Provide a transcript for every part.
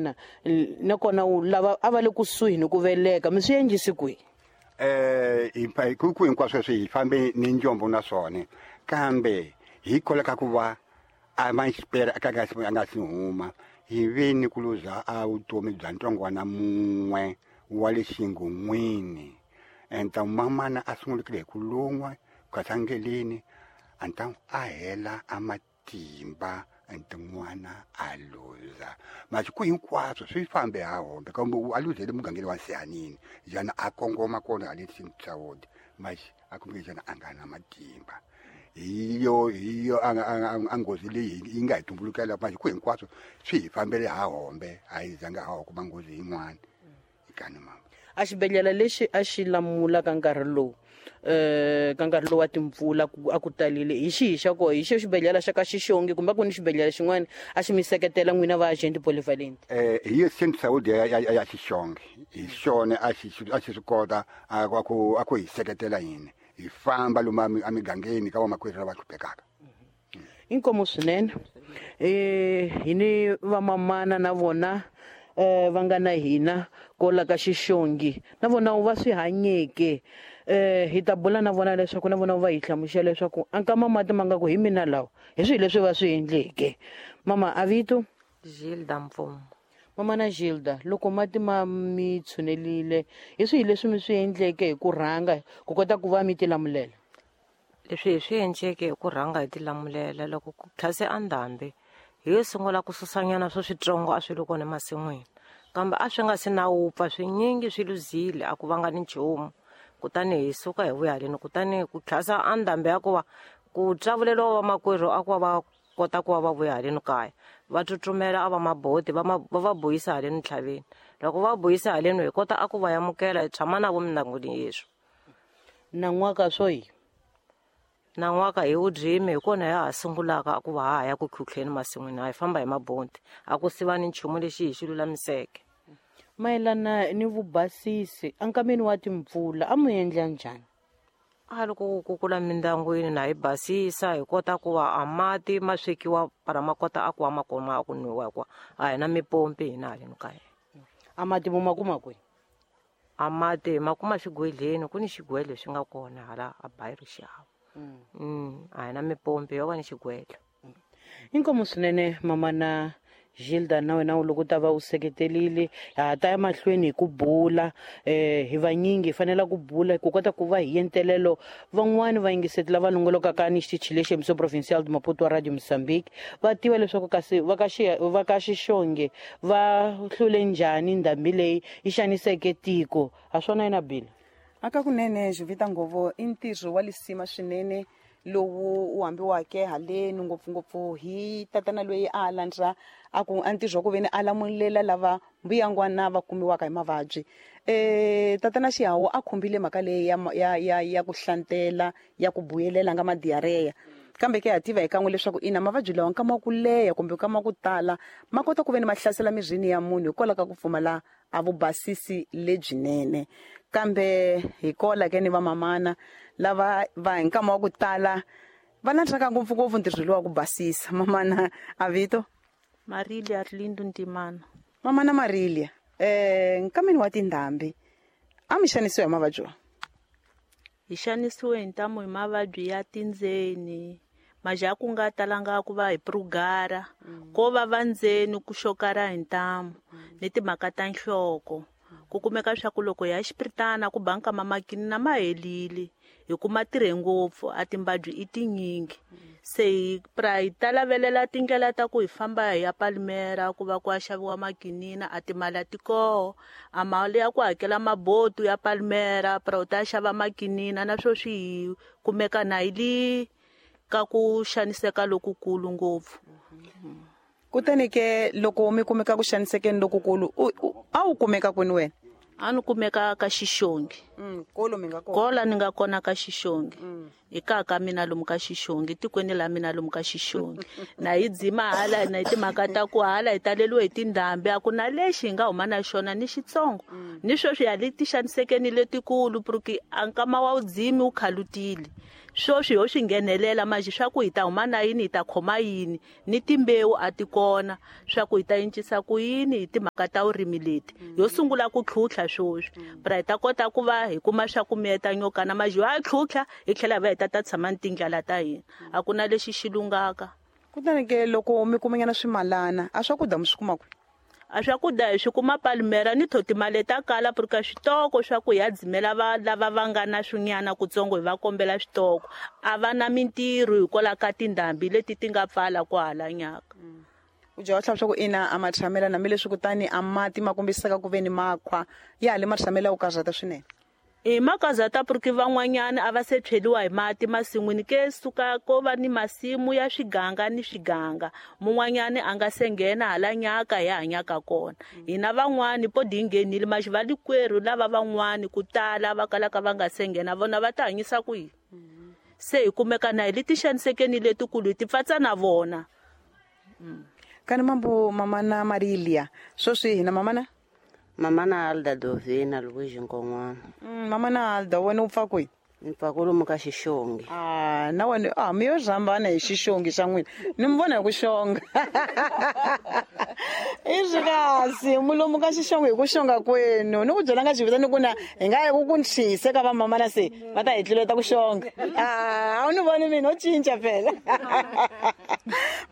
Vamanana nakona lava a va le kusuhi ni ku veleka mi swi endlisi kwihi? Ku hinkwaswo sweswi hi fambe ni njombo na swona, kambe hi koleka ku va a ma xipela a ka nga si huma, hi ve ni ku luza a vutomi bya ntsongwana mun'we wa le xingon'wini. Enta mamana a sungulekile hi ku lun'wa kasangeleni, anta a hela a matimba, ente n'wana a luza. Masiku hinkwaswo swi fambe ha hombe, kambe a luzele mugangeni wa Sihanini, jana a kongoma kona hale Saudi, maxi a kumbe jana a nga na matimba. Hi yo a nghozi leyi yi nga hi tumbulukela. Masiku hinkwaswo swi hi fambele ha hombe, a hi zanga ha kuma nghozi yin'wana ikani mama. A xibedhlele lexi a xi lamula ka nkarhi lowu, ka nkarhi lowu wa timpfula a ku talile, hi xihi xa koho? Hi xo xibedhlele xa ka Xixongi, kumbe ku ni xibedhlele xin'wana a xi mi seketela n'wina va agent polyvalent? Hi yo Saint Saudi ya Xixongi, hi xona a xi swi kota a ku hi seketela hina hi famba lomu emigangeni ka vamakwerhu lava hluphekaka. Inkomu swinene. Hi ni vamamana na vona va nga na hina kola ka Xixongi, na vona va swi hanyeke. Hi ta bula na vona leswaku na vona va hi hlamusela leswaku a nkama mati ma nga ku hi mina lawa, hi swihi leswi va swi endleke. Mama, a vito? Gilda Mpfumo. Mama na Gilda, loko mati ma mi tshunelile, hi swihi leswi mi swi endleke hi ku rhanga ku kota ku va mi tilamulela? Leswi hi swi endleke hi ku rhanga hi tilamulela, loko ku tlhase a ndhambi, hi yo sungula ku susanyana swo switsongo a swi ri kona emasin'wini, kambe a swi nga si na wupfa swinyingi swi luzile, a ku vanga ni nchumu. Kutani hi suka hi vuya haleni, kutani ku tlhasa a ndhambi ya ku va ku tsavuleliwa vamakwerhu a ku va va kota ku va va vuya haleni kaya, va tsutsumela a va maboti va buyisa haleni ntlhaveni. Loko va buyisa haleni, hi kota a ku va amukela, hi tshama na vo mindyangwini yeswi. Nan'waka swo hi Nan'waka hi wudzimi, hi kona ya ha sungulaka a ku va ha ha ya ku khuhleni masin'wini, a hi famba hi maboti, a ku siva ni nchumu lexi hi xi lulamiseke. Mayelana ni vubasisi ankameni wa timpfula, a mu endla njhani? A loko ku kukula mindyangwini na hi basisa, hi kota ku va a mati ma swekiwa para ma kota a ku va ma koma a ku nwiwa, hikuva a hi na mipompi hina haleni kaya. A mati mo ma kuma kwihi? A mati hi ma kuma xigwedleni, ku ni xigwedlo xi nga kona hala a bayiro xihava. A hi na mipompi, yo va ni xigwedlo. Inkomu swinene, mama na Gilda, na wena loko u ta va u seketelile. Ha ta ya mahlweni hi ku bula. Hi vanyingi hi fanela ku bula ku kota ku va hi yentelelo van'wani vayingiseti lava longolokaka ni xitichi lexi, Emissão Provincial de Maputo wa Radio Mozambique, va tiva leswaku kasi va ka Xixonge va hlule njhani ndhambi leyi yi xaniseke tiko. Ha swona yina bila. Aka kunene, Jovita Ngovo, i ntirho wa lisima swinene lowu wu hambiwake haleni, ngopfungopfu hi tatana loyi a landza a ku a ntirho wa ku veni a lamulela lava mbuyangwana va kumiwaka hi mavabyi. Tatana Xihawu a khumbile mhaka leyi ya ku hlantela, ya ku buyelela nga madiareya, kambe ke ha tiva hi kan'we leswaku ina, mavabyi lawa nkama wa ku leha kumbe nkama wa ku tala ma kota ku veni ma hlasela mirini ya munhu hikwalaho ka ku pfumala a vubasisi lebyinene. Kambe hi kola ke ni vamamana lava va hi nkama wa ku tala va landzaka ngopfungopfu ntirho lowu wa ku basisa. Mamana, a vito? Marilia Arlindo Ntimana. Mamana Marilia, nkameni wa tindhambi a mi xanisiwa hi mavabyi wa? Hi xanisiwe hi ntamu hi mavabyi ya tindzeni, maja ku nga talanga ku va hi prugara, ko va va ndzeni ku xokara hi ntamu, ni timhaka ta nhloko. Ku kumeka swa ku loko ya xipiritana ku ba nkama makini na ma helile, hi kuma tirhe ngopfu, a timbabyi i tinyingi. Se hi pra hi ta lavelela tindlela ta ku hi famba hi ya Palmera ku va ku ya xaviwa makinina, a timali a ti koho, a mali ya ku hakela maboto ya Palmera pra u ta xava makinina, na swo swi hi kumeka na hi li ka ku xaniseka lokukulu ngopfu. Kutani ke loko mi kumeka ku xanisekeni lokukulu, a wu kumeka kwini wena? A ni kumeka ka Xixongi. Kolo mi nga kona? Kola ni nga kona ka Xixongi. Hi kaya ka mina lomu ka Xixongi, tikweni la mina lomu ka Xixongi. Na hi dzima hala na hi timhaka ta ku hala hi taleliwe hi tindhambi, a ku na lexi hi nga huma na xona ni xitsongo. Ni sweswi ha le ti xanisekeni letikulu, porque a nkama wa wudzimi wu khalutile. Sweswi ho swi nghenelela manje swa ku hi ta huma na yini, hi ta khoma yini, ni timbewu a ti kona swa ku hi ta encisa ku yini hi timhaka ta vurimi leti. Yo sungula ku tlhutlha sweswi pra hi ta kota ku va hi kuma swa ku miyeta nyokana manje ha tlhutlha hi tlhela hi va hi ta ta tshama ni tindlala ta hina. A ku na lexi xi lungaka. Kutani ke loko mi kumanyana swimalana a swakudya mi swi kuma kwihi? A swakudya hi swi kuma Palmera ni tho timali ta kala purika switoko swa ku hi ya dzimela va lava va nga na swinyana kutsongo hi va kombela switoko. A va na mintirho hikwalaho ka tindhambi leti ti nga pfala kwahala nyaka. U dya wa tlhava swa ku ina a ma tshamela hambileswi kutani a mati ma kombisaka ku ve ni makhwa ya ha le ma tshamela ku karhata swinene. I makazata puriki van'wanyana a va se tshweliwa hi mati masin'wini ke suka ko va ni masimu ya swiganga ni swiganga, mun'wanyani a nga se nghena hala nyaka hi hanyaka kona. Hina van'wani po di nghenile maxi va likwerhu lava van'wani ku tala va kalaka va nga se nghena vona va ta hanyisa ku yini? Se hi kumeka na hi le tixanisekeni letikulu hi ti pfatsa na vona. Kani mambo mamana Marilia, sweswi hina mamana? Mamana Alda Dovina Luigi Nkon'wana. Mamana Alda, wena u pfa kwihi? Ni pfa kwalomu ka Xixongi. Na wena, mi yo rhambana hi Xixongi xa n'wina. Ni mi vona hi ku xonga. I swi kasi mulomu ka Xixongi hi ku xonga kwenu. Ni ku byela nga xivita ni ku na hi nga ya ku ku ntshise ka va mamana se va ta hi tluleta ku xonga. A wu ni voni mina u cinca phela.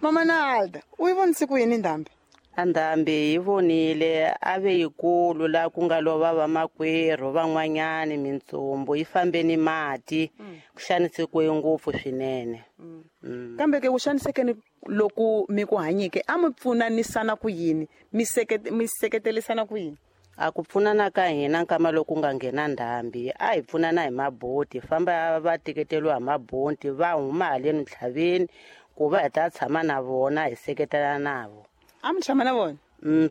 Mamana Alda, u yi vonise ku yini ndhambi? A ndhambi yi vonile a ve yikulu laha ku nga lova vamakwerhu van'wanyani mintsumbu yi fambe ni mati, ku xanisekiwe ngopfu swinene. Kambe ke ku xanisekeni loku mi ku hanyike a mi pfunanisana ku yini, mi seketelisana ku yini? A ku pfunana ka hina nkama loku nga nghena ndhambi a hi pfunana hi maboti, famba va teketeriwa hi maboti va huma haleni ntlhaveni ku va hi ta tshama na vona hi seketela navo. A mi tshama na vona?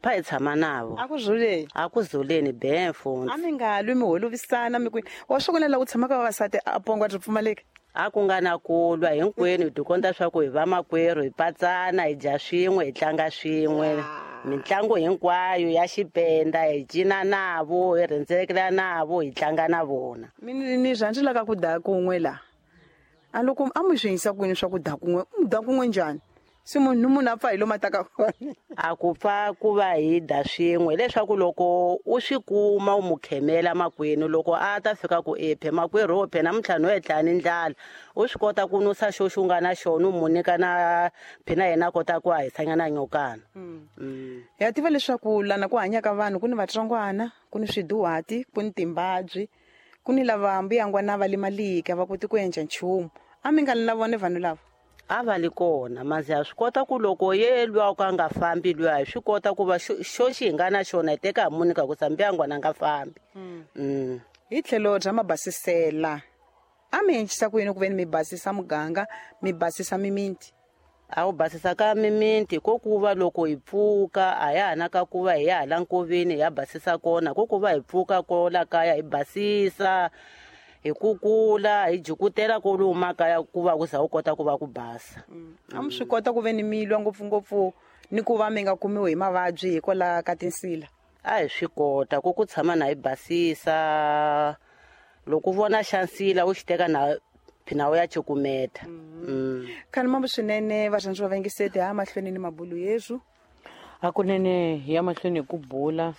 Pha hi tshama navo. A ku zuleni? A ku zuleni benfo. A mi nga lwi mi holovisana mi kwini? Wa swi vona laha ku tshamaka vavasati a pongo ri pfumaleka? A ku nga na ku lwa hinkwenu, hi tikonta swa ku hi vamakwerhu, hi patsana, hi dya swin'we, hi tlanga swin'we. Mitlangu hinkwayo ya xipenda hi cina navo, hi rhendzelekela navo, hi tlanga na vona. Mina ni rhandzela ku dya kun'we laha. A loko a mi swi yisa kwini swa ku dya kun'we, mi dya kun'we njhani? Se munhu munhu a pfa hi lomu a taka kona. A ku pfa ku va hi dya swin'we hileswaku loko u swi kuma u mu khemela makwenu, loko a ta fika ku ephe makwerhu wo phe namuntlha no etla ni ndlala, u swi kota ku nusa xo xi nga na xona u mu nyika na phina yena a kota ku hahisanyana nyokana. Ya tiva leswaku lana ku hanyaka vanhu ku ni vatsongwana, ku ni swiduhati, ku ni timbabyi, ku ni lava mbuyangwana va limalika va koti ku endla nchumu. A mi nga li na vona vanhu lava? A va li kona, mazi ha swi kota ku loko ye lwa ka nga fambi lwa, hi swi kota ku va xo xi hi nga na xona hi teka hi munyika ku sa mbuyangwana a nga fambi. Hi tlhelo bya mabasisela, a mi endlisa ku yini ku ve ni mi basisa muganga, mi basisa mimiti? A wu basisa ka mimiti ko ku va loko hi pfuka a ya ha na ka ku va hi ya hala nkoveni hi ya basisa kona, ko ku va hi pfuka ko la kaya hi basisa, hi kukula, hi jikutela ko lomu makaya ku va ku za u kota ku va ku basa. A mi swi kota ku ve ni mi lwa ngopfungopfu ni ku va mi nga kumiwi hi mavabyi hikwalaho ka tinsila? A hi swi kota ku ku tshama na hi basisa, loko u vona xa nsila u xi teka na phina u ya cukumeta. Khani mambo swinene varhandzi va vayingiseti, ha mahlweni ni mabulu yesu. Hakunene hi ya mahlweni hi ku bula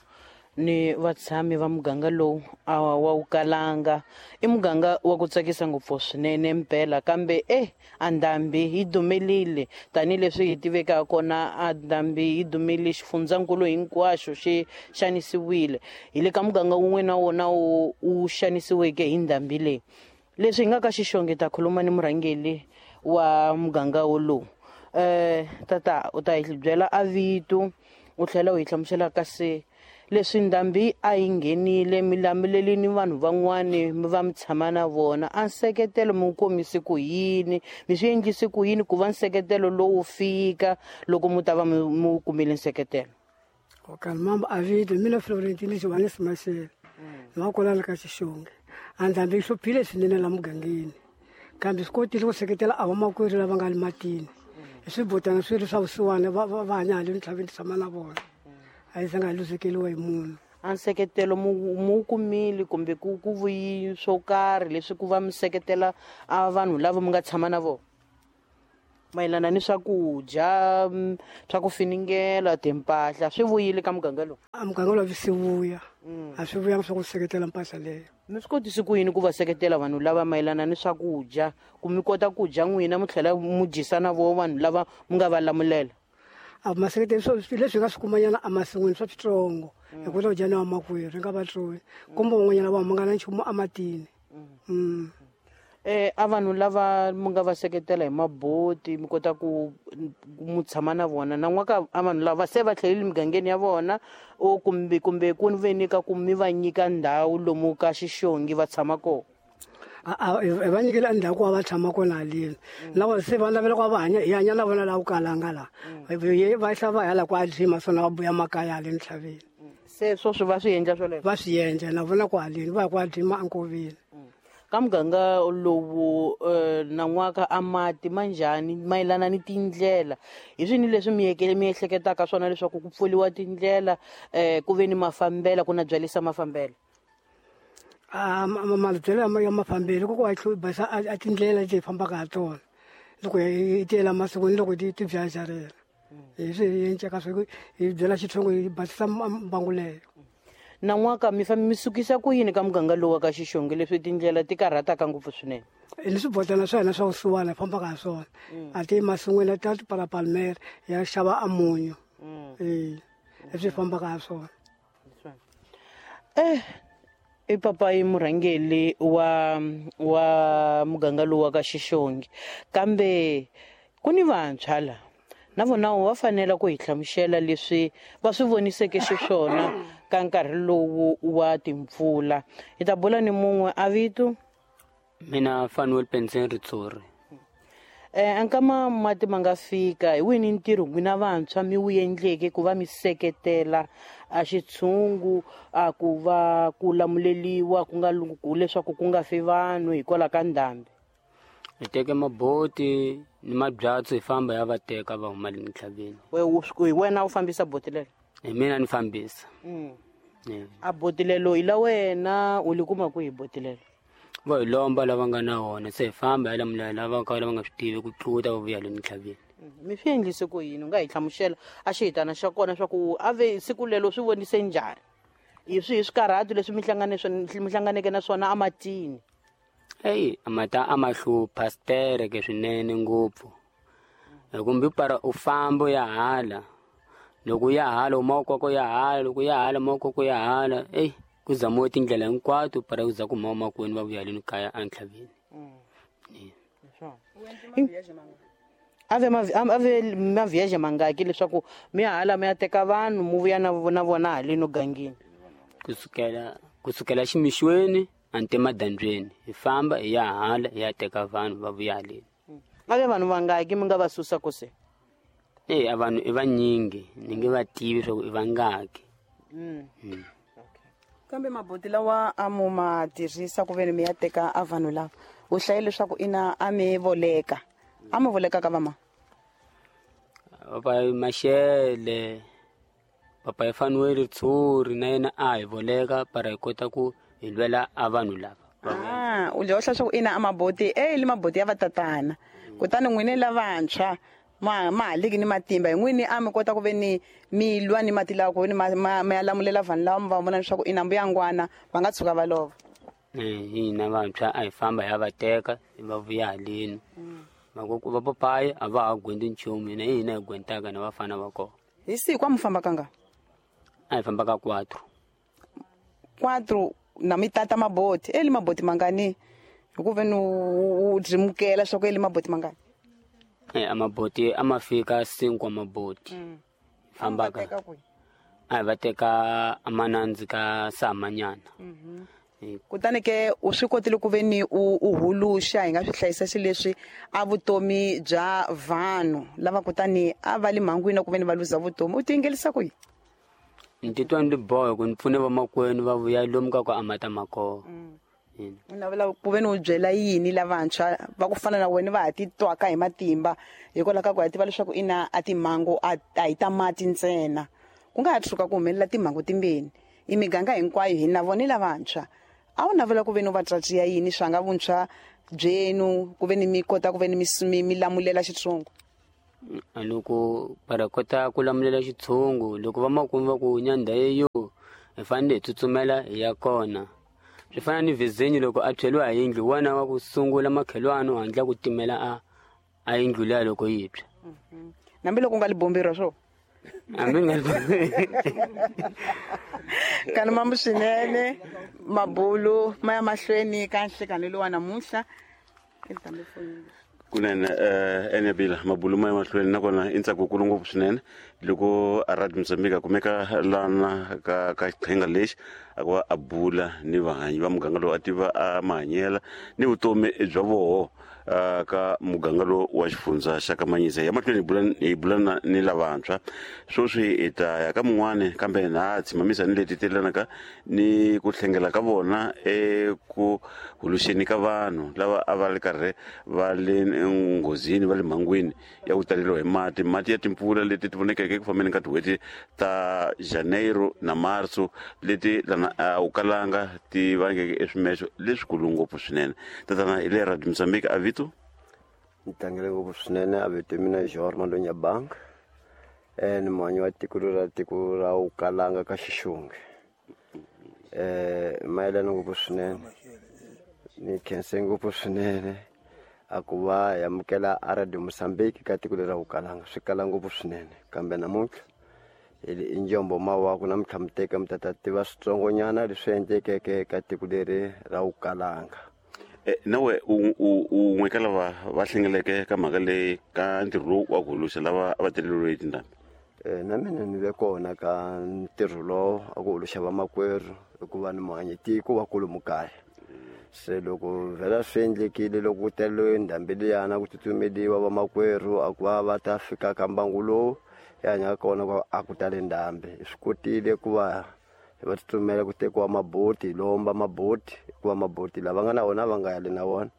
ni vatshami va muganga lowu a wa wu kalanga. I muganga wa ku tsakisa ngopfu swinene mpela, kambe a ndhambi yi dumelile tanihileswi hi tivekaka kona. A ndhambi yi dumile xifundzankulu hinkwaxo xi xanisiwile. Hi le ka muganga wun'we na wona wu xanisiweke hi ndhambi leyi. Leswi hi nga ka Xixongi ta khuluma ni murhangeri wa muganga wolowu. Tata u ta hi byela a vito, u tlhela u hi hlamusela kasi leswi ndhambi a yi nghenile mi lamulelini ni vanhu van'wani mi va mi tshama na vona, a nseketelo mi wu komise ku yini, mi swi endlise ku yini ku va nseketelo lowu fika loko mi ta va mi wu kumile nseketelo? Okani mambo a vito mina Florentine Johannes Mashele, ni wa kwalano ka Xixongi. A ndhambi yi hluphile swinene la mugangeni, kambe swi kotile ku seketela a vamakwerhu lava nga le matini hi swibotana swi ri swa vusiwana va hanya haleni ntlhaveni tshama na vona. A yi zanga hi luzekeriwa hi munhu. A nseketelo mu kumile kumbe ku vuyi swo karhi leswi ku va mi seketela a vanhu lava mi nga tshama na vona mayelana ni swakudya, swa ku finingela, timpahla, swi vuyile ka muganga lowu? A muganga lowu swi vuya, a swi vuyanga swa ku seketela mpahla leyo. Mi swi kotisi ku yini ku va seketela vanhu lava mayelana ni swakudya, ku mi kota ku dya n'wina mi tlhela mu dyisa na vo vanhu lava mi nga va lamulela? A maseketelo swo leswi hi nga swi kumanyana emasin'wini swa switsongo, hi kota ku dya na vamakwerhu hi nga va tsoni, kumbe van'wanyana va huma nga na nchumu ematini. A vanhu lava mi nga va seketela hi maboti mi kota ku mu tshama na vona nan'waka, a vanhu lava se va tlhelele migangeni ya vona, o kumbe ku ve ni ka ku mi va nyika ndhawu lomu ka Xixongi va tshama kona? Hi va nyikile ndhawu ku va tshama kona haleni, na vona se va navela ku va hanya, hi hanya na vona laha ku kalanga laha va hla va ya la ku a dzima swona va vuya makaya haleni ntlhaveni. Se sweswo va swi endla swoleswo? Va swi endla na vona ku haleni va ya ku a dzima enkoveni. Ka muganga lowu nan'waka a mati ma njhani mayelana ni tindlela? Hi swini leswi mi ehleketaka swona leswaku ku pfuriwa tindlela, ku ve ni mafambela, ku na byalisa mafambela? Mabyalelo ya mafambelo ku va basa a tindlela leti hi fambaka ha tona loko hi tiyela masikwini, loko ti byajarela hi swi hi enceka swi hi byela xitshongo hi basisa mbangu leyo. Nan'waka mi mi sukisa ku yini ka muganga lowu wa ka Xixongi leswi tindlela ti karhataka ngopfu swinene? Ni swibotana swa hina swa vusiwana hi fambaka ha swona, a ti masin'wini ta tipalapalmere ya xava a munyu, leswi hi fambaka ha swona. I papayi murhangeri wa muganga lowu wa ka Xixongi, kambe ku ni vantshwa la na vona va fanele ku hi hlamusela leswi va swi voniseke xiswona ka nkarhi lowu wa timpfula. Hi ta bula ni mun'we a vito? Mina Fanuel Pensen Ritsori. Ankama mati ma nga fika, hi wini ntirho n'wina vantshwa mi wu endleke ku va mi seketela a xitshungu a ku va ku lamuleliwa ku nga leswaku ku nga fi vanhu hikwalaho ka ndhambi? Hi teke maboti ni mabyatso hi famba ya va teka va huma le ntlhaveni. Hi wena u fambisa boti lelo? Hi mina ni fambisa. A boti lelo hi la wena u li kuma kwihi boti lelo? Va hi lomba lava nga na wona, se hi famba hi lamulela lava ka lava nga swi tivi ku tluta va vuya le ntlhaveni. Mi swi endlise ku yini? U nga hi hlamusela a xihitana xa kona swa ku a ve siku lelo swi vonise njhani? Hi swihi swikarhato leswi mi hlanganeke na swona ematini? Eyi, a mata a ma hlupha stereke swinene ngopfu. Kumbe para u famba u ya hala, loko ya hala u ma ya hala, loko ya hala ma ya hala, eyi ku zamiwe tindlela hinkwato para ku za ku huma makwenu va vuya haleni kaya entlhaveni. A ve maviyaje mangaki leswaku mi ya hala mi ya teka vanhu mu vuya na vona haleni gangeni? Kusukela ximixweni ante madandzweni hi famba hi ya hala hi ya teka vanhu va vuya haleni. A ve vanhu vangaki mi nga va susa ku se? A vanhu i vanyingi, ni nge va tivi swa ku i vangaki. Kambe maboti lawa a mu ma tirhisa ku veni mi ya teka a vanhu lava, u hlaye leswaku ina a mi voleka. A mi voleka ka vama? Papa Mashele, papa Fanuel Ritsuri na yena a hi voleka para hi kota ku hi lwela a vanhu lava. U dya u hlaya swa ku ina a maboti, li maboti ya vatatana. Kutani n'wini lavantshwa ma haliki ni matimba, hi n'wini a mi kota ku ve ni mi lwa ni mati lawa ku ve ni ma ya lamulela vanhu lava mi va vona leswaku ina mbuyangwana va nga tshuka va lova. Hina vantshwa a hi famba hi ya va teka va vuya haleni. Va papayi a va ha gwendi nchumu, hina hi hina hi gwentaka na vafana va kona. Hi siku a mi famba kanga? A hi famba ka 4. 4 na mi tata maboti, eli maboti mangani? Hi ku ve ni u dzimukela swa ku eli maboti mangani? A maboti a ma fika 5 maboti. Fambaka. A hi va teka amanandzi ka samanyana. Kutani ke u swi kotile ku ve ni u huluxa hi nga swi hlayisa xileswi a vutomi bya vanhu lava kutani a va le mhangwini ku ve ni va luza vutomi, u tingelisa ku yini? Ni titwa ni bohe ku ni pfune vamakwenu va vuya lomu ka ku amata makoho. U navela ku ve ni u byela yini lavantshwa va ku fana na wena va ha titwaka hi matimba hikwalaho ka ku ha tiva leswaku ina a timhangu a hi ta mati ntsena, ku nga ha tshuka ku humelela timhangu timbeni, I miganga hinkwayo hi na vone lavantshwa. A wu navela ku ve ni va tswatsiya yini swa nga vuntshwa byenu ku ve ni mi kota ku ve ni mi lamulela xitshungu? Loko va kota ku lamulela xitshungu, loko va makumu va ku nyandha yeyo hi fanele hi tsutsumela hi ya kona. Swi fana ni vizinyo loko a tshweliwa hi yindlu, wena wa ku sungula makhelwani u hatla ku timela a yindlu liya loko yi tshwa. Nambi loko u nga li bomberiwa swo? Hambi nga li Kana mambu swinene, mabulu ma ya mahlweni ka nhlekani lowa namuntlha. Kunene enebila mabulu ma ya mahlweni nakona i ntsako wukulu ngopfu swinene loko a Radio Mozambique a kumeka lana ka xiqhinga lexi a ku va a bula ni vahanyi va muganga lowu a tiva a mahanyela ni vutomi bya voho ka muganga lowu wa xifundza xa Kamanyisa. Ya mahlweni hi bula ni lavantshwa sweswi hi ta ya ka mun'wani, kambe na tshimamisa ni leti telanaka ni ku hlengela ka vona eku huluxeni ka vanhu lava a va ri karhi va le nghozini, va le mhangwini ya ku taleriwa hi mati, mati ya timpfula leti ti vonekeke eku fambeni ka tin'hweti ta Janeiro na Marso leti lana a wu kalanga ti vangeke eswimexo leswikulu ngopfu swinene. Tatana hi le Radio Mozambique, a vito? Ni tlangele ngopfu swinene a vito mina Jorge Malonya Bank, ni muhanyi wa tiko ra tiko ra Ukalanga ka Xixungi. Mayelana ngopfu swinene, ni khense ngopfu swinene a ku va hi amukela a Radio Mozambique ka tiko leri ra Ukalanga, swi kala ngopfu swinene. Kambe namuntlha i njombo mawaku namuntlha mi teka mi ta ta tiva switsongonyana leswi endlekeke ka tiko leri ra Ukalanga. Nawe un'we ka lava va hlengeleke ka mhaka leyi ka ntirho lowu wa ku huluxa lava a va teleriwe hi tindhambi? Na mina ni ve kona ka ntirho lowu a ku huluxa vamakwerhu hikuva ni muhanyi tiko wa kwalomu kaya. Se loko vhela swi endlekile loko ku teleriwe ndhambi liyana ku tsutsumeliwa vamakwerhu a ku va va ta fika ka mbangu lowu hi hanyaka kona ku a ku tale ndhambi. Hi swi kotile ku va hi va tsutsumela ku tekiwa maboti, hi lomba maboti hikuva maboti lava nga na wona va nga yali na wona,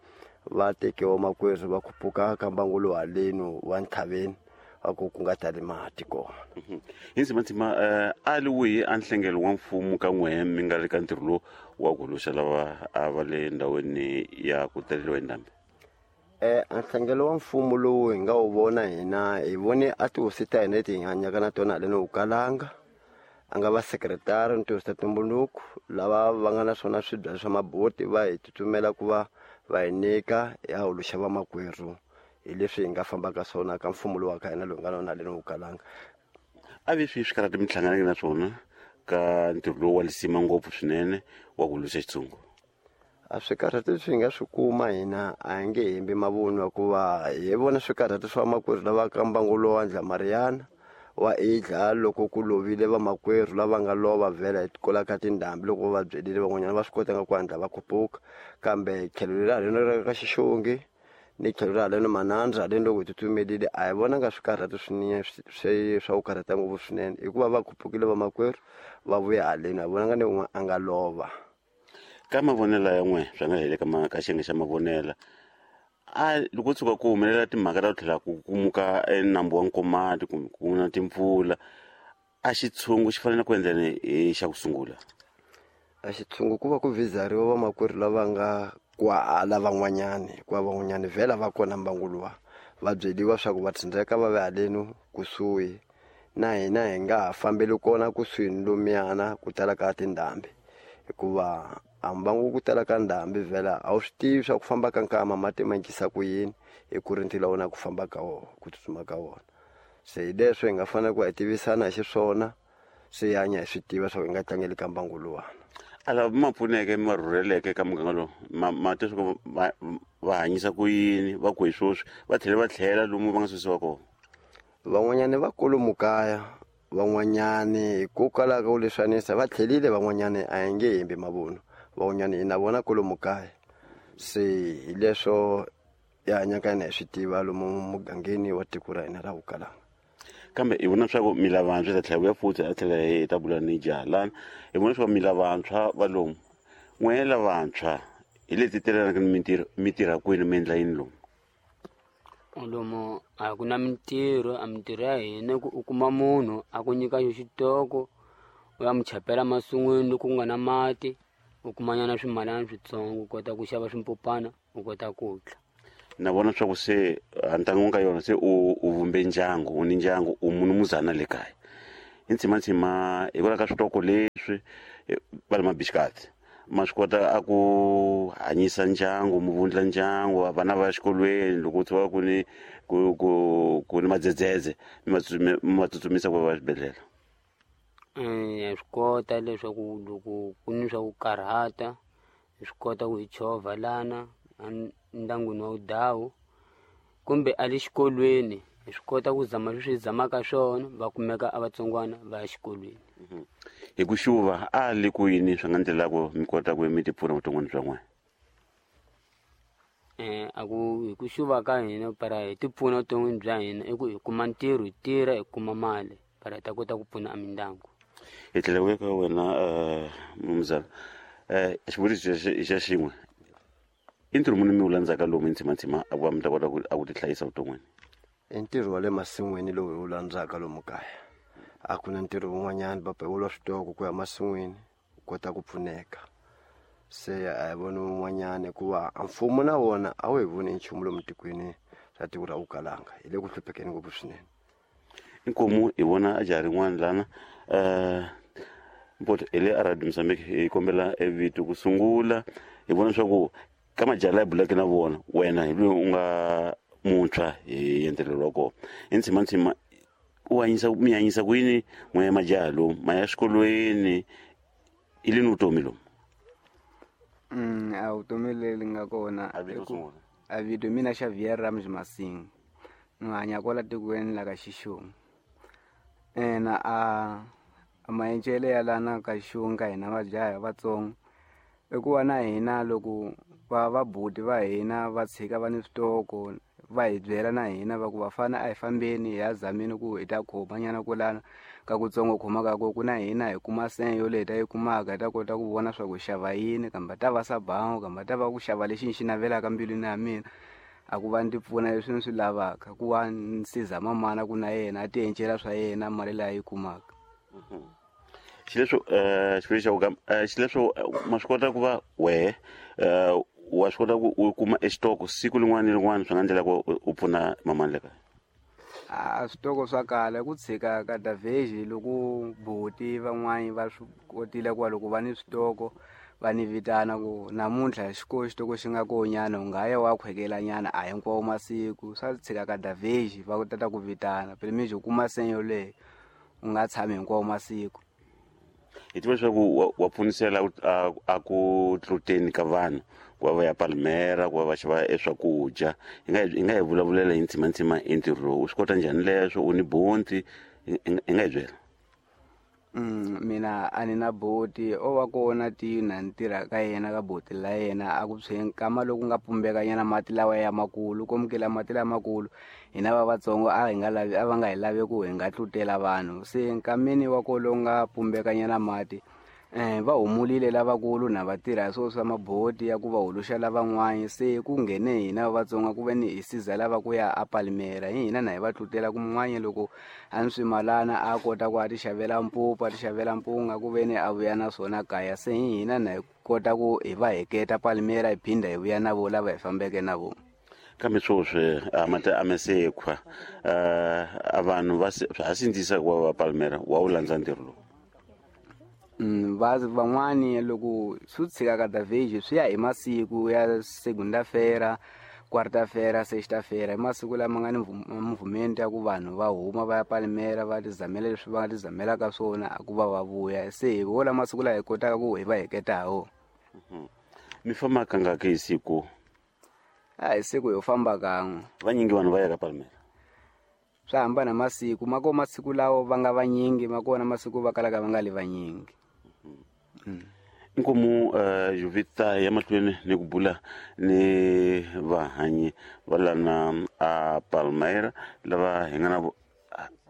va tekiwa makwerhu va khupuka ka mbangu lowu haleni wa ntlhaveni a ku ku nga tali mati kona. Hi ndzimandzima a li wihi a nhlengelo wa mfumo ka n'wehe mi nga ri ka ntirho lowu wa ku huluxa lava a va le ndhawini ya ku taleriwa hi ndhambi? A nhlengelo wa mfumo lowu hi nga wu vona hina, hi vone a tihosi ta hina leti hi hanyaka na tona haleni Ukalanga, a nga va sekretari ni tihosi ta tumbuluko lava va nga na swona swibya swa maboti va hi tsutsumela ku va va hi nyika ya huluxa vamakwerhu hi leswi hi nga fambaka swona ka mfumo lowu wa ka hina lowu nga na wona haleni Ukalanga. A vi swi swikarhati mi hlanganeke na swona ka ntirho lowu wa lisima ngopfu swinene wa ku huluxa xitshungu? A swikarhati leswi hi nga swi kuma hina a hi nge hembi mavunwa hikuva hi vona swikarhati swa vamakwerhu lava ka mbangu lowu wa Ndlamariyana wa idla loko ku lovile vamakwerhu lava nga lova vhela hi kwala ka tindhambi loko va byelile van'wanyana va swi kotanga ku hatla va khupuka. Kambe tlhelo leri haleni ra ka Xixungi ni tlhelo ra haleni Manandza haleni loko hi tsutsumelile a hi vonanga swikarhati swinene swa ku karhata ngopfu swinene hikuva va khupukile vamakwerhu va vuya haleni, a hi vonanga ni un'we a nga lova. Ka mavonelo ya n'we swa nga hele ka xiyenge xa mavonela, a loko tshuka ku humelela timhaka ta ku tlhela ku kumuka enambu wa Nkomati kumbe ku na timpfula, a xitshungu xi fanele ku endla yini hi xa ku sungula? A xitshungu ku va ku vhizariwa vamakwerhu lava nga kwahala van'wanyani, hikuva van'wanyani vhela va kona mbangu luwa, va byeliwa swa ku va tsandzeka va ve haleni kusuhi na hina hi nga ha fambeli kona kusuhi ni lomuyana ku tala ka tindhambi, hikuva a mbangu ku tala ka ndhambi vhela a wu swi tivi swa ku famba ka nkama mati ma cincisa ku yini hi ku ri ntila wona ku famba ka wona ku tsutsuma ka wona. Se hi leswo hi nga fanele ku hi tivisana hi xiswona se hi hanya hi swi tiva swa ku hi nga tlangeli ka mbangu luwani. A lava ma pfuneke ma rhurheleke ka muganga lowu ma twa swa ku va hanyisa ku yini va ku hi swoswi va tlhela va tlhela lomu va nga susiwa kona? Van'wanyani va kwalomu kaya, van'wanyani hikokwalaho ka ku leswanisa va tlhelile, van'wanyani a hi nge hembi mavunwa, van'wanyani hi na vona kwalomu kaya. Se hi leswo hi hanyaka hina hi swi tiva lomu mugangeni wa tiko ra hina ra Ukalanga. Kambe hi vona swa ku mi lavantshwa, hi ta tlhela vuya futhi a tlhela hi ta bula ni jaha lana. Hi vona swa ku mi lavantshwa va lomu, n'we lavantshwa hi leti telanaka ni mintirho, mi tirha kwini, mi endla yini lomu? Lomu a ku na mintirho, a mintirho ya hina ku u kuma munhu a ku nyika xo xitoko, U ya mu chapela masin'wini loko ku nga na mati, u kumanyana swimalana switsongo, u kota ku xava swimpupana, u kota ku dla. Na vona swa ku se a ntangwini ka yona se u vumbe ndyangu, u ni ndyangu, u munumuzana le kaya. I ntshimantsima hikwalaho ka switoko leswi va le mabixikati ma swi kota a ku hanyisa ndyangu, mu vundla ndyangu, vana va ya xikolweni, loko ku tshuka ku ni ku ku ku ni madzedzedze mi va tsutsumisa ku va xibedhlele. Ha swi kota leswaku loko ku ni swa ku karhata hi swi kota ku hi chovha lana ndyangwini wa wudawu, kumbe a le xikolweni hi swi kota ku zama leswi hi zamaka swona, va kumeka a vatsongwana va ya xikolweni. Hi ku xuva a le ku yini swi nga ndlela ku mi kota ku mi ti pfuna vuton'wini bya n'wina? A ku hi ku xuva ka hina para hi ti pfuna vuton'wini bya hina i ku hi kuma ntirho, hi tirha, hi kuma mali para hi ta kota ku pfuna a mindyangu. Hi tlhela ku ya ka wena mnumzana, xivutiso xa xin'we, i ntirho muni mi wu landzaka lomu ntshimantsima a ku va mi ta kota a ku ti hlayisa vuton'wini? I ntirho wa le masin'wini lowu hi wu landzaka lomu kaya. A ku na ntirho wun'wanyana, va pewula switoko ku ya masin'wini u kota ku pfuneka. Se a hi voni wun'wanyana hikuva a mfumo na wona a wu hi voni nchumu lomu tikweni ra tiko ra Vukalanga, hi le ku hluphekeni ngopfu swinene. Inkomu hi vona a jaha rin'wana lana, mpoto hi le a Radio Mozambique, hi kombela e vito ku sungula, hi vona leswaku ka majaha laya bulaka na vona wena hi loyi u nga muntshwa hi entelelo wa kona. I ntshimantsima u hanyisa, mi hanyisa ku yini n'we majaha lomu ma ya xikolweni, i lini vutomi lomu? A vutomi leri nga kona A vito i ku sungula. A vito mina Xavier Ramji Masing, ni hanya kwala tikweni la ka Xixongi. Ena a maencele ya lana ka Xixongi ka hina majaha vatsongo i ku va na hina loko va buti va hina va tshika va ni switoko, va hi byela na hina va ku vafana a hi fambeni hi ya zameni ku hi ta khoma nyana kwalano ka kutsongo khoma ka ku na hina hi kuma senye yoleyi hi ta yi kumaka, hi ta kota ku vona swa ku xava yini, kambe ta va sabango, kambe ta va ku xava lexi ni xi navelaka mbilwini ya mina, a ku va ni ti pfuna leswi ni swi lavaka, ku va ni siza mamana ku na yena a ti encela swa yena mali leyi a yi kumaka. Xileswo, xivutiso xa ku xileswo, ma swi kota ku va wehe, wa swi kota ku u kuma exitoko siku rin'wana ni rin'wana swi nga endlela ku u pfuna mamani le kaya? A switoko swa kala ku tshika ka Daveji loko buti van'wani va swi kotile ku va loko va ni switoko va ni vitana ku namuntlha xikolo xitoko xi nga koho nyana, u nga ya wa khwekela nyana, a hinkwawo masiku swa tshika ka Daveji va tata ku vitana phela mi u kuma senyo yoleyo u nga tshami hinkwawo masiku. Hi tiva leswaku wa pfunisela a ku tluteni ka vanhu ku va va ya Palmera, ku va va xava e swakudya. Hi nga hi vulavulela hi ntshimantsima hi ntirho lowu, u swi kota njhani leswo, u ni bonti, hi nga hi byela? Mina a ni na boti, o va kona tina ni tirha ka yena ka boti la yena a ku tshweni nkama loku nga pumbeka nyana mati lawa ya makulu, komukela mati lamakulu hina va vatsongo a hi nga lavi, a va nga hi lavi ku hi nga tlutela vanhu. Se nkameni wa ko lowu nga pumbeka nyana mati, va humulile lavakulu na va tirha swo swa maboti ya ku va huluxa lavan'wana, se ku nghene hina va vatsonga ku ve ni hi siza lava ku ya a Palmera, hi hina na hi va tlutela ku mun'wanyana loko a ni swimalana a kota ku a ti xavela mpupu, a ti xavela mpunga ku ve ni a vuya na swona kaya, se hi hina na hi kota ku hi va heketa Palmera hi phinda hi vuya na vo lava hi fambeke na vona. Kambe sweswi a mati a mesekhwa, a vanhu va ha sindzisa ku va va Palmera, wa wu landza ntirho lowu? Van'wani loko swi tshika ka Daveji swi ya hi masiku ya segunda-feira, quarta-feira, sexta-feira, hi masiku lama nga ni movement ya ku vanhu va huma va ya Palmera va ti zamela leswi va nga ti zamelaka swona a ku va va vuya, se hi wona masiku laha hi kotaka ku hi va heketa ha wona. Mi famba kangaki hi siku? A hi siku ho famba kan'we. Vanyingi vanhu va ya ka Palmera? Swa hambana masiku, ma kona masiku lawo va nga vanyingi, ma kona masiku va kalaka va nga li vanyingi. Inkomu, Jovita ya mahlweni ni ku bula ni vahanyi va lana a Palmera lava hi nga na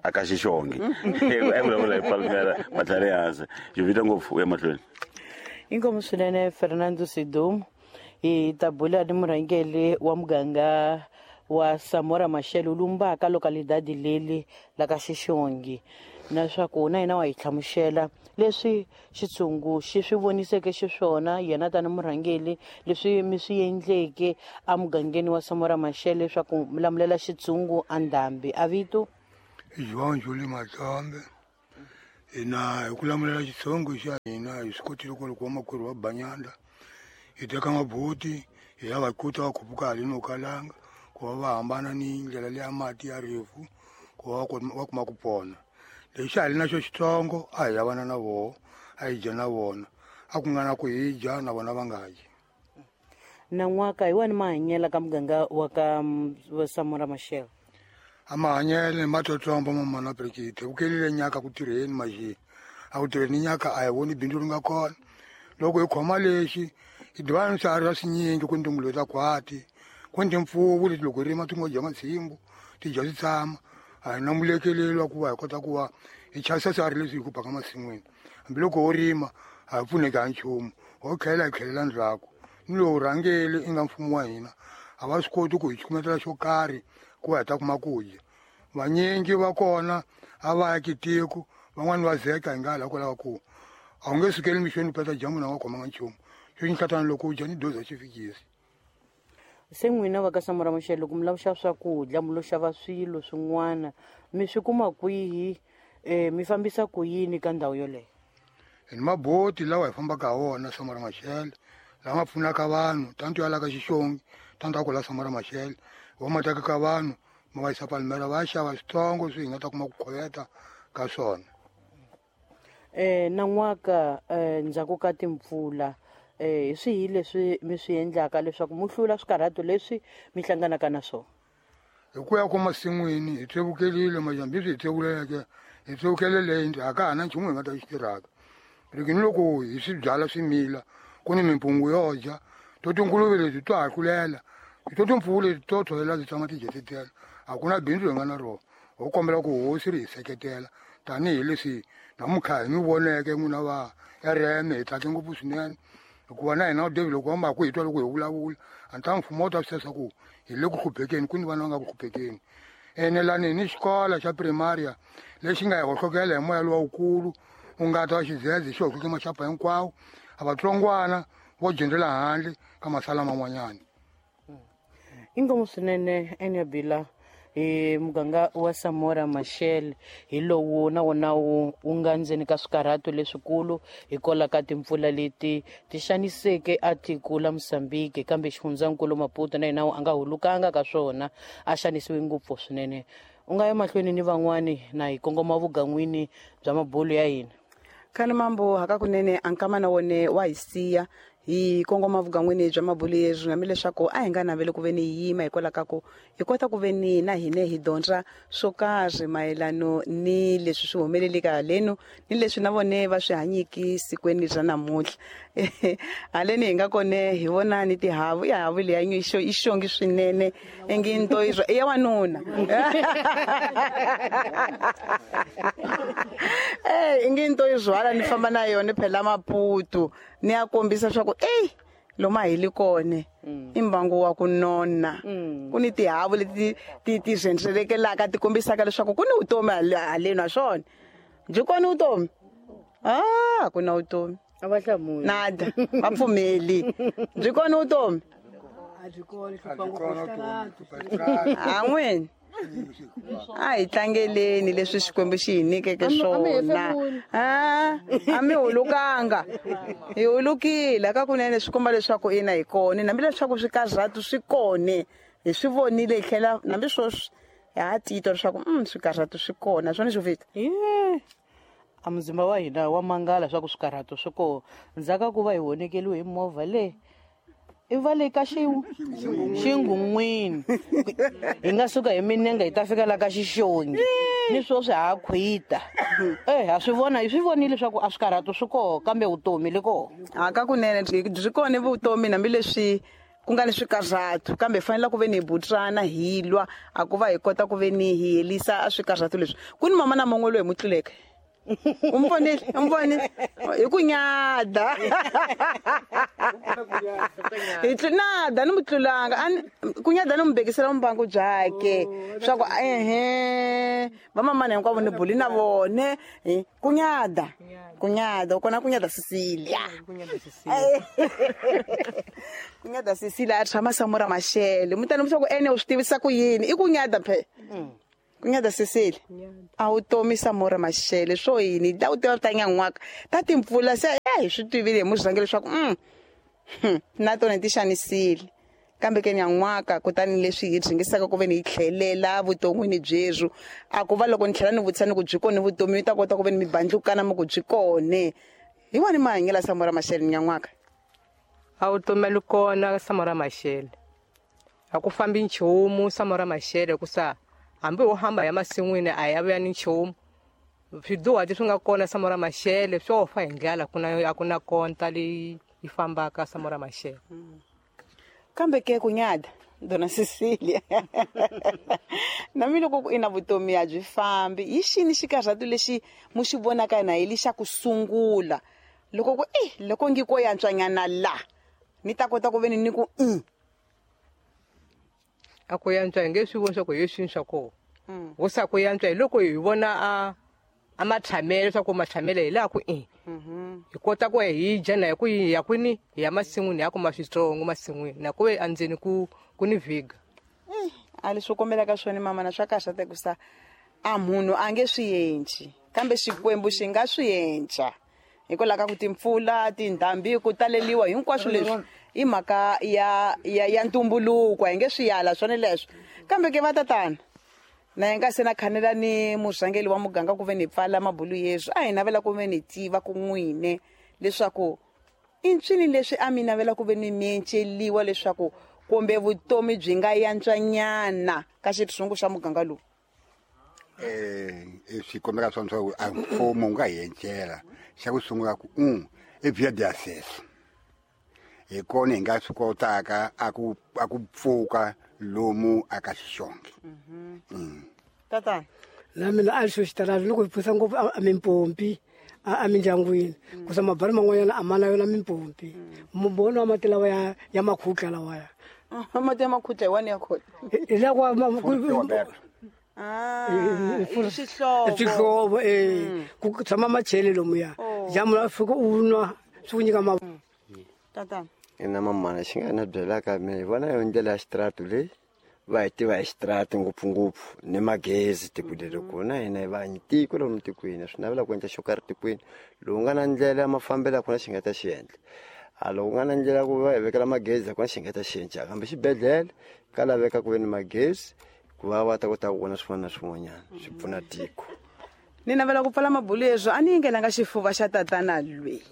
a ka Xixongi. A vulavula hi Palmera matlhari hansi. Jovita ngopfu u ya mahlweni. Inkomu swinene Fernando Sidom, hi ta bula ni murhangeri wa muganga wa Samora Machel lumbaka localidade leli la ka Xixongi. Na swa ku na yena wa hi hlamusela leswi xitshungu xi swi voniseke xiswona yena tani murhangeli, leswi mi swi endleke emugangeni wa Samora Machel leswaku mi lamulela xitshungu andhambi. A vito? João Júlio Matombe. Hina hi ku lamulela xitshungu xa hina hi swi kotile ku loko vamakwerhu va banyanda hi teka mabuti hi ya va kuta va khupuka haleni okalanga ku va va hambana ni ndlela leya mati ya rifu ku va va kuma ku pona. Lexi a hi li na xo xitsongo a hi yavana na voho, a hi dya na vona, a ku nga na ku hi dya na vona va nga dyi. Nan'waka hi wani mahanyela ka muganga wa ka Samora Machel? A mahanyele ma tsotsomba mamana Brigidi vukelile nyaka ku tirheni maxi a ku tirheni nyaka a hi voni bindzu ri nga kona. Loko hi khoma lexi hi dibana ni swiharhi swa swinyingi, ku ni tinguluve ta khwati, ku ni timpfuvu leti loko hi rima ti ngo dya matshimbu ti dya swi tshama. A hi na mulekeleli wa ku va hi kota ku va hi chavisa swiharhi leswi hi ku baka masin'wini. Hambiloko ho rima a hi pfuneki ha nchumu, ho tlhela hi tlhelela ndzhaku. Ni lowu rhangeli i nga mfumo wa hina a va swi koti ku hi cukumetela xo karhi ku va hi ta kuma ku dya. Vanyingi va kona a va ya kitiko, van'wani va zeka hi nga hala kwalaho ku a wu nge sukeli mixweni u peta dyambu na nga khomanga nchumu xo xinhlatana loko u dya ni doza xi fikisi. Se n'wina va ka Samora Machel, loko mi lava ku xava swakudya, mi lo xava swilo swin'wana, mi swi kuma kwihi? Mi fambisa ku yini ka ndhawu yoleyo? Hi ni maboti lawa hi fambaka ha wona Samora Machel, lama pfunaka vanhu tanto ya la ka Xixongi tanto a ku la Samora Machel, wa ma tekaka vanhu ma va yisa Palmera va ya xava switsongo swi hi nga ta kuma ku khoveta ka swona. Nan'waka ndzhaku ka timpfula, hi swihi leswi mi swi endlaka leswaku mi hlula swikarhato leswi mi hlanganaka na swona? Hi ku ya ko masin'wini hi tsevukelile majambi swi hi tsevuleke hi tsevukele leyi a ka ha na nchumu hi nga ta xi tirhaka. Loko ni loko hi swi byala swimila ku ni mimpungu yo dya to tinguluve leti to hahlulela to timpfuvu leti to tshovela ti tshama ti dyetetela. A ku na bindzu hi nga na rona, ho kombela ku hosi ri hi seketela tanihileswi namuntlha hi mi voneke n'wina va RM. Hi tsake ngopfu swinene hikuva na hina David loko va ku hi twa loko hi vulavula a ni ta mfumo wu ta swi tiva ku hi le ku hluphekeni, ku ni vana va nga ku hluphekeni. Ene lani hi ni xikolo xa primaria lexi nga hi hohlokela hi moya lowukulu wu nga ta wa xidzedze xi hohloke maxapa hinkwawo, a vatsongwana vo dyondzela handle ka masala man'wanyana. Inkomu swinene Enyabila. Hi muganga wa Samora Machel hi lowu na wona wu nga ndzeni ka swikarhato leswikulu hikwalaho ka timpfula leti ti xaniseke a tiko la Mozambique, kambe xifundzankulu Maputo na yena a nga hulukanga ka swona, a xanisiwe ngopfu swinene. U nga ya mahlweni ni van'wani na hi kongoma vugan'wini bya mabulu ya hina. Khani mambo hakakunene a nkama na wone wa hi siya hi kongoma vugan'wini bya mabulu yezwi, hambileswaku a hi nga naveli ku ve ni yima hikwalaho ka ku hi kota ku ve ni na hine hi dyondza swo karhi mayelano ni leswi swi humeleleke halenu ni leswi na vone va swi hanyiki sikweni ra namuntlha. Haleni hi nga kone hi vona ni tihavu, i havu leya i xongi swinene ingi nto i ya wanuna ingi nto yi zwala ni famba na yona phela Maputo ni ya kombisa swa ku eyi lomu a hi li kone i mbangu wa ku nona. Ku ni tihavu leti ti ti rhendzelelaka ti kombisaka leswaku ku ni vutomi haleni naswona byi kona vutomi. A ku na vutomi. A va hlamuli. Nada, va pfumeli. Byi kona vutomi? A byi kona, hlupha ngopfu switaratu. A n'wini a hi tlangeleni leswi Xikwembu xi hi nyikeke swona. A mi hulukanga, hi hulukile kakunene, swi komba leswaku ina hi kona, hambileswaku swikarhatu swi kone hi swi vonile, hi tlhela hambi sweswi ha titwa leswaku swikarhatu swi kona swona xo fita. A muzimba wa hina wa mangala swa ku swikarhatu swi kona ndzhaku ka ku va hi honekeliwe hi movha le i va le ka xingun'wini, hi nga suka hi minenge hi ta fika la ka Xixongi ni sweswi ha khwita. Ha swi vona, hi swi vonile leswaku a swikarhatu swi koho kambe vutomi li koho. A ka kunene byi kona vutomi hambileswi ku nga ni swikarhatu, kambe hi fanele ku ve ni hi butsana hi lwa a ku va hi kota ku ve ni hi helisa a swikarhatu leswi. Ku ni mama na man'we loyi hi mu tluleke. U mi vonile? U mi vonile? Hi ku nyada. Hi nada ni mu tlulanga kunyada ni mu bekisela mbangu byake swa ku ehe vamamani hinkwavo ni buli na vone kunyada kunyada kona kunyada Cecilia kunyada Cecilia a tshama Samora Machel mutani swa ku ene u swi tivisa ku yini i kunyada phe kunyada Cecilia a wu tomi Samora Machel swo yini ta u tiva ta nyan'waka ta timpfula se hi swi tivile hi muzange leswaku na tona ti xanisile kambe ke nyan'waka kutani leswi hi dzingisaka ku ve ni hi tlhelela vuton'wini byebyo a ku va loko ni tlhela ni vutisa ni ku byi kone vutomi mi ta kota ku ve ni mi bandlukana mi ku byi kone hi wani mahanyelo Samora Machel nyan'waka a vutomi a li kona Samora Machel a ku fambi nchumu Samora Machel ku sa hambi wo hamba ya masin'wini a ya vuya ni nchumu swiduhati swi nga kona Samora Machel swo fa hi ndlala a ku na konta leyi yi fambaka Samora Machel kambe ke kunyada dona Cecilia na mi loko ku ina vutomi a byi fambi hi xini xikarhatu lexi mu xi vonaka na hi lexa ku sungula loko ku loko ngi ko yantswanyana la ni ta kota ku ve ni ku a ku yantswa hi nge swi voni swa ku hi swini swa kona wo sa ku yantswa hi loko hi vona a matshamele swa ku matshamele hi laha ku hi kota ku hi dya na hi ku hi ya kwini hi ya masin'wini ya kuma switsongo masin'wini na ku ve endzeni ku ni vhiga a leswi kombelaka swona mama na swa kahle ku sa a munhu a nge swi endli kambe Xikwembu xi nga swi endla hikwalaho ka ku timpfula tindhambi ku taleliwa hinkwaswo leswi i mhaka ya ya ya ntumbuluko hi nge swi yala swona leswo kambe ke va tatana na hi nga se na khanela ni murhangeli wa muganga ku ve ni pfala mabulu yeswo a hi navela ku ve ni tiva ku n'wine leswaku i ncini leswi a mi navela ku ve ni mienceliwa leswaku kumbe vutomi byi nga yantswanyana ka xitshungu xa muganga lowu swi kombeka swona swa ku a mfumo wu nga hi encela xa ku sungula ku i via de acesso hi kona hi nga swi kotaka a ku pfuka lomu aka Xixonge tatana na mina a xo xitarata loko hi pfusa ngopfu a mimpompi a mindyangwini ku sa mabari man'wanyana a ma na yona mimpompi mbono wa mati lawa ya makhutla lawaya mati ya makhutla hi wani ya khona hi lawa swihlovo ku tshama machele lomuya jamu la fika u nwa swi ku nyika tatana ina mamana xi nga na byelaka mina hi vona yo ndlela ya xitarata leyi va hi tiva hi xitarata ngopfungopfu ni magezi tiko leri kona hina hi vanyi tiko lomu tikweni swi navela ku endla xo karhi tikweni lowu nga na ndlela ya mafambelo a ku na xi nga ta xi endla a loko nga na ndlela ku va hi vekela magezi a ku na xi nga ta xi endla kambe xibedhlele ka laveka ku ve ni magezi ku va va ta kota ku vona swin'wana na swin'wanyana swi pfuna tiko ni navela ku pfala mabulu yeswo a ni yingelanga xifuva xa tatana lweyi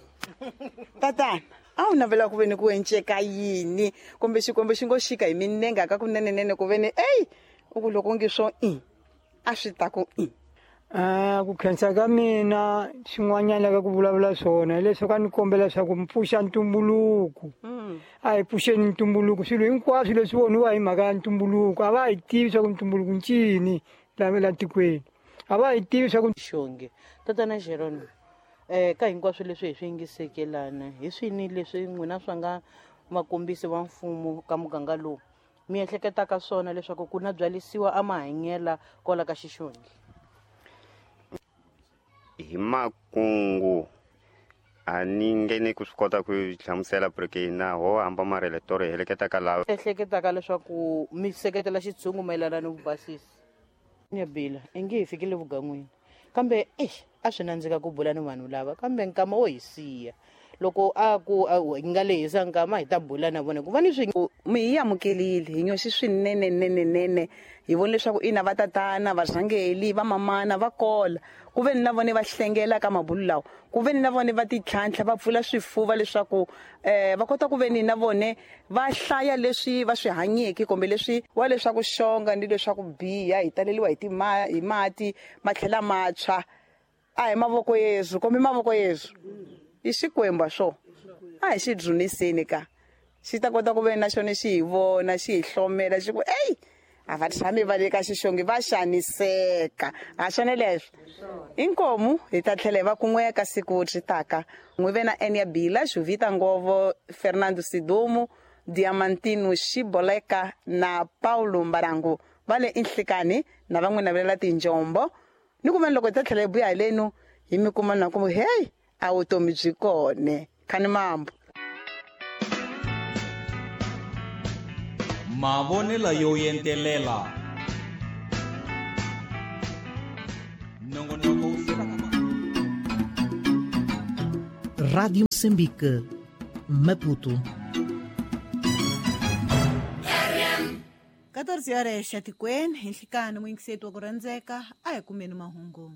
tatana a wu navela ku ve ni ku enceka yini kumbe Xikwembu xi ngo xika hi minenga ka kunenenene ku ve ni eyi u ku loko ngi swo i a swi ta ku i ku khensa ka mina xin'wanyana ka ku vulavula swona hileswaku a ni kombela leswaku mi pfuxa ntumbuluko a hi pfuxeni ntumbuluko swilo hinkwaswo leswi voniwa hi mhaka ya ntumbuluko a va hi tivi swa ku ntumbuluko ncini la tikweni a va hi tivi swa ku Xonge tatana Jerome ka hinkwaswo leswi hi swi yingisekelana hi swini leswi n'wina swa nga makombisi va mfumo ka muganga lowu mi ehleketaka swona leswaku ku na byalisiwa a mahanyela kwala ka Xixonge hi makungu a ni nge ni ku swi kota ku hlamusela porque na ho hamba marele toro hi heleketaka lava ehleketaka leswaku mi seketela xitshungu mayelana ni vubasisi Nyabila i nge hi fikile vugan'wini kambe a swi nandzika ku bula ni vanhu lava kambe nkama wo hi siya loko a ku hi nga lehisa nkama hi ta bula na vona ku va ni swi mi hi amukelile hi nyoxi swinenenenenene hi vona leswaku ina va tatana varhangeli va mamana va kola ku ve ni na vone va hlengela ka mabulu lawa ku ve ni na vone va titlhantlha va pfula swifuva leswaku va kota ku ve ni na vone va hlaya leswi va swi hanyeke kumbe leswi wa leswaku xonga ni leswaku biha hi taleliwa hi hi mati ma tlhela matshwa a hi mavoko yesu kumbe mavoko yesu i Xikwembu swo a hi xi dzuniseni ka xi ta kota ku ve na xona xi hi vona xi hi hlomela xi ku eyi A va tshami va le ka xixongi va xaniseka. A swona leswo. Inkomu hi ta tlhela hi va kun'we ka siku ri taka. N'wi ve na Enia Bila, Juvita Ngovo, Fernando Sidumo, Diamantino Xiboleka na Paulo Mbarangu va le Inhlikani na van'we navelela tinjombo. Ni ku veni loko hi ta tlhela hi vuya halenu hi mi kuma na ku hey a vutomi byi kone. Khani mambo. Mavonelo yo entelela. Nongonoko wu fika ka Rádio Moçambique, Maputo. 14 horas 7 hi nhlikani muyingiseti wa ku rhandzeka a hi kumeni mahungu.